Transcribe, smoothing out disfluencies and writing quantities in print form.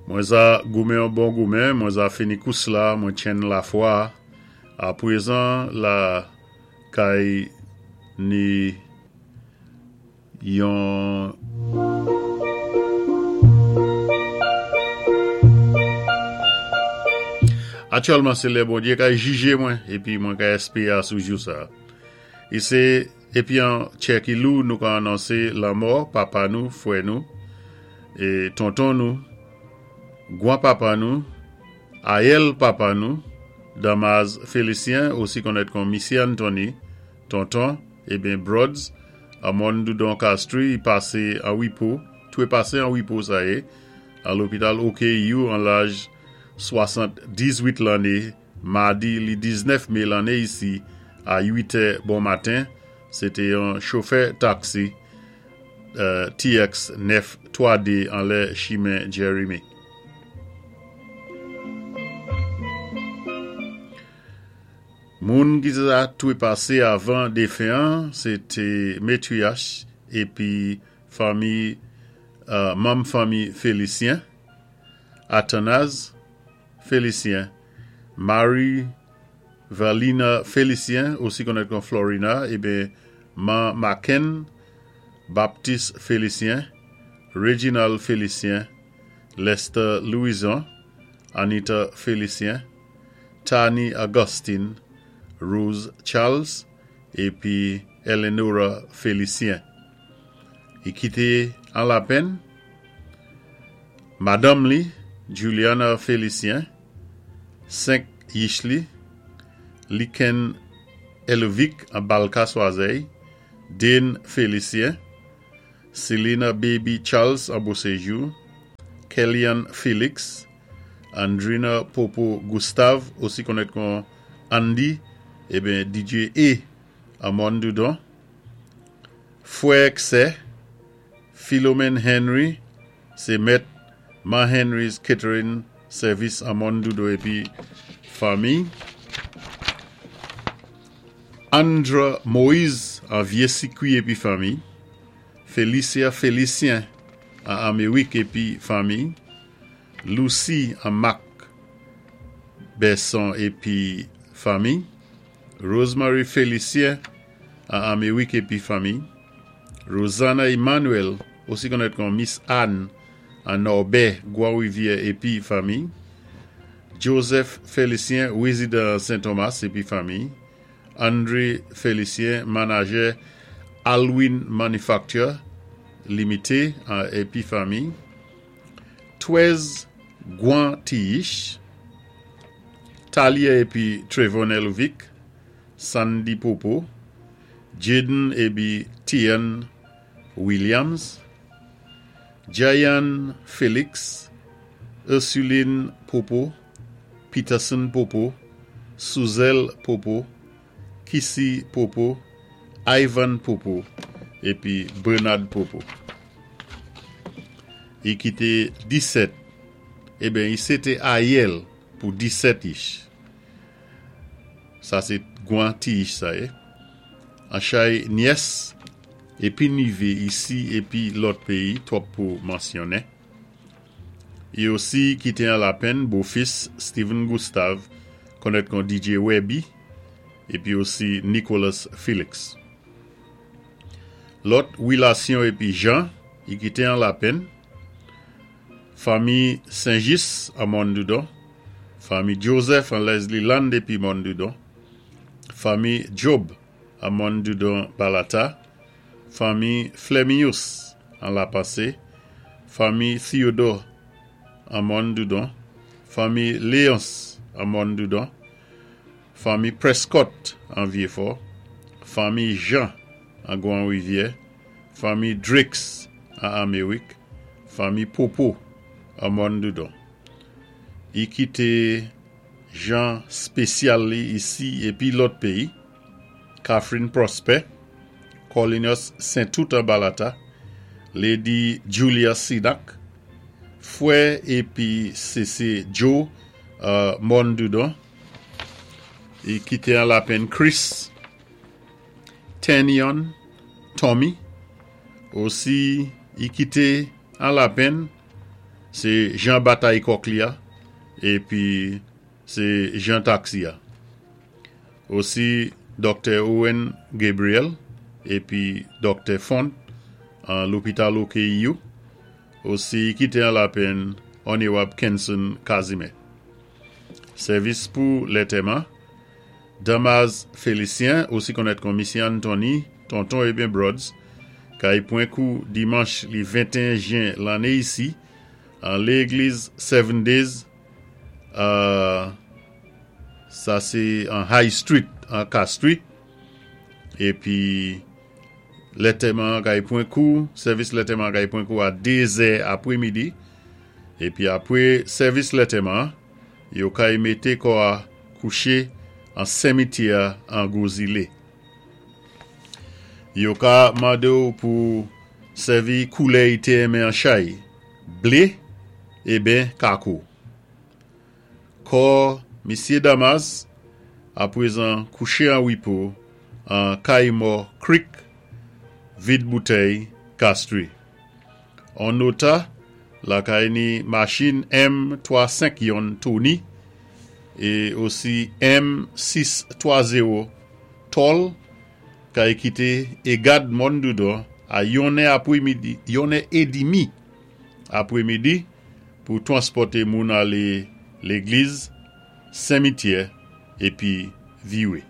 Mwen za goumen yon bon goumen, mwen za fini kous la, mwen tchenn lafwa. Apwézan la kay ni yon. Aktyèlman sé lè Bondyé kay jijé mwen épi mwen kay èspéé asou jou sa. I sé épi an tchè ki lou nou ka anonsé lanmò papa nou, fwè nou, é tonton nou, gwan papa nou, ayèl papa nou, Damaz Félicien, osi konnèt kon Misyé Anthony, Tonton, eben Brods, an Mòn Doudon Castries, i pasé an wipo, twépasé an wipo sa yé, an lopital OKU an laj 78 lanné, madi li 19 mé lanné isi a 8 è bon maten, sé té yon chofè taksi TX 9 3 D anlè chimen Jeremy. Moun ki te twépasé avan défen an sé té metriyach épi fanmi manm fanmi Félicien, Athanase Félicien, Marie Verlina Félicien, osi konnèt kon Florina, eben Man Macken Baptiste Félicien, Reginald Félicien, Lester Louison, Anita Félicien, Tani Augustine, Rose Charles, épi Eleanora Félicien. I kité an lapenn madanm li, Juliana Félicien, 5 yich li, Liken Elovic an Balka Swazèy, Dane Félicien, Selina Baby Charles an Beauséjour, Kellyanne Félix, Andrina Popo Gustave, osi konnèt kon Andy, eben DJ E an Mòn Doudon, Fwè ak sè, Philomène Henry, sé mèt Man Henry's Catering Service an Mòn Doudon épi fanmi, Andra Moise an Vyé Sikwi épi fanmi, Felicia Félicien an Améwik épi fanmi, Lucie an Mak Besson épi fanmi, Rosemary Félicien an Améwik épi fanmi, Rosanna Emmanuel, osi konnèt kon Miss Anne an Nòbè, Gwan Rivyè épi fanmi, Joseph Félicien, wézidan Sen Thomas épi fanmi, André Félicien, manajè Alwin Manufacture Limité épi fanmi, 13 Gwan Tiyich, Talia épi Trevor Nelovic, Sandy Popo, Jaden épi Tian Williams, Jayan Félix, Ursuline Popo, Peterson Popo, Suzel Popo, Kissy Popo, Ivan Popo épi Bernard Popo. I kité 17, eben i sé té ayèl pou 17 yich. Sa sé gwan ti yich sa yé. An chay nyès épi nivé isi épi lòt péyi twòp pou mansyonnen. I osi kité an lapenn bofis Steven Gustave konnèt kon DJ Webby épi osi Nicholas Felix. Lòt wilasyon épi jan i kité an lapenn, fanmi Senjis an Mòn Doudon, fanmi Joseph an Leslie Land épi Mòn Doudon, fanmi Job an Mòn Doudon Balata, fanmi Flemius an Lapanse, fanmi Theodore an Mòn Doudon, fanmi Léonce an Mòn Doudon, fanmi Prescott an Vyefò, fanmi Jean an Gwan Rivyè, fanmi Drakes an Amerik, fanmi Popo an Mòn Doudon. I kité jan spésyal li isi épi lòt péyi, Catherine Prosper, Corlinus Saintout an Balata, Lady Julia Sinak, fwè épi Sese Joe an Mòn Doudon, i kité an lapenn Chris Tenyon Tommy, osi i kité an lapenn. Sé jan batay kòk li-a épi sé jan taksi-a. Osi Dòktè Owen Gabriel épi Dòktè Fond an lopital OKEU. Osi kité an lapenn Onewab Kenson Casimir. Sèvis pou lètèman, Damas Félicien, osi konnèt kon Misyé Anthony, Tonton eben Brods, kay pwan kou dimanch li 21 jen lanné isi an légliz Seven Days, sa sé an High Street an Castries, épi lètèman an kay pwan kou, sèvis lètèman an kay pwan kou a 2 zè apwé midi, épi apwé sèvis lètèman an, yo kay mété kò-a kouché an senmityè an Gwo Zilé. Yo ka mande-w pou sèvi koulè i té enmen an chay, blé eben kako. Kò Misye Damas apwezan kouché an wipo an Kay Mò Creek, Vid Boutèy, Castries. On nota lakay ni machin M 3 5 yon Tony é osi M 6 3 0 Tòl kay kité Egad Mòn Doudon a yonnè apwé midi, yonnè édimi apwé midi pou twanspòté moun alé légliz, senmityè épi viwé.